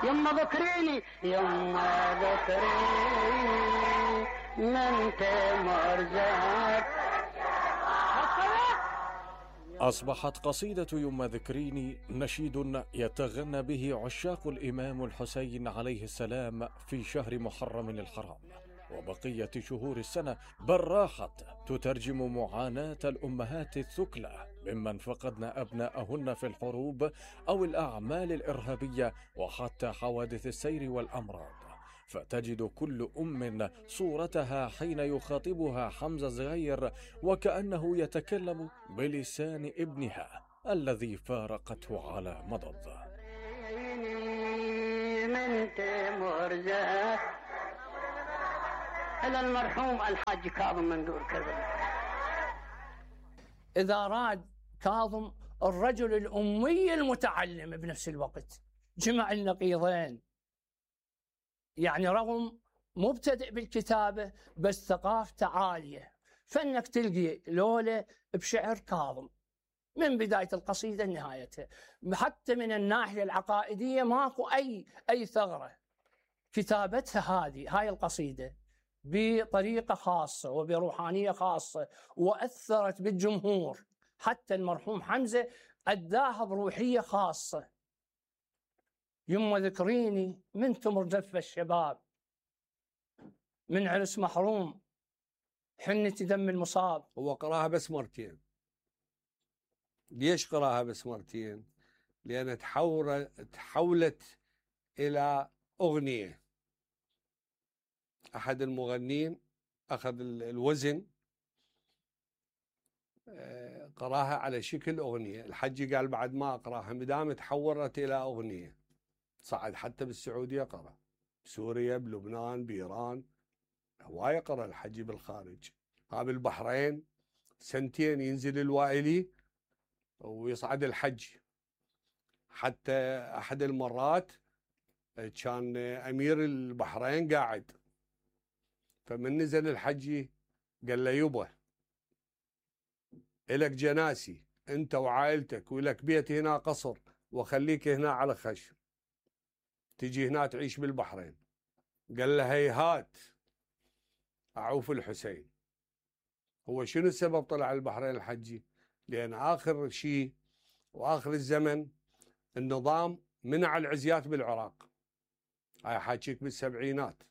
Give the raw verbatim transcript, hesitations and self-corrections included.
يما ذكريني يما ذكريني من تمر زاد. أصبحت قصيدة يما ذكريني نشيد يتغنى به عشاق الإمام الحسين عليه السلام في شهر محرم الحرام وبقية شهور السنة، بل راحت تترجم معاناة الأمهات الثكلى ممن فقدن أبناءهن في الحروب أو الأعمال الإرهابية وحتى حوادث السير والأمراض، فتجد كل أم صورتها حين يخاطبها حمزة الصغير وكأنه يتكلم بلسان ابنها الذي فارقته على مضض. من تمر زاد إلى المرحوم الحاج كاظم مندور كربلاء. إذا راد كاظم الرجل الأمي المتعلم بنفس الوقت جمع النقيضين، يعني رغم مبتدئ بالكتابة بس ثقافته عالية، فإنك تلقي لولة بشعر كاظم من بداية القصيدة لنهايتها، حتى من الناحية العقائدية ماكو أي أي ثغرة. كتابتها هذه هاي القصيدة بطريقة خاصة وبروحانية خاصة وأثرت بالجمهور، حتى المرحوم حمزة أداها بروحية خاصة. يما ذكريني من تمر زف الشباب، من عرس محروم حنة دم المصاب. هو قراها بس مرتين. ليش قراها بس مرتين؟ لأن تحولت إلى أغنية. أحد المغنين أخذ الوزن قراها على شكل أغنية، الحجي قال بعد ما أقراها مدام تحولت إلى أغنية. صعد حتى بالسعودية قرأ، بسوريا، بلبنان، بإيران، هواية قرأ الحجي بالخارج. ها بالبحرين سنتين ينزل الوائلي ويصعد الحج. حتى أحد المرات كان أمير البحرين قاعد، فمن نزل الحجي قال له يبا إلك جناسي أنت وعائلتك ولك بيت هنا قصر وخليك هنا على خشم، تجي هنا تعيش بالبحرين. قال له هيهات أعوف الحسين. هو شنو السبب طلع البحرين الحجي؟ لأن آخر شيء وآخر الزمن النظام منع العزيات بالعراق، هاي حاجيك بالسبعينات.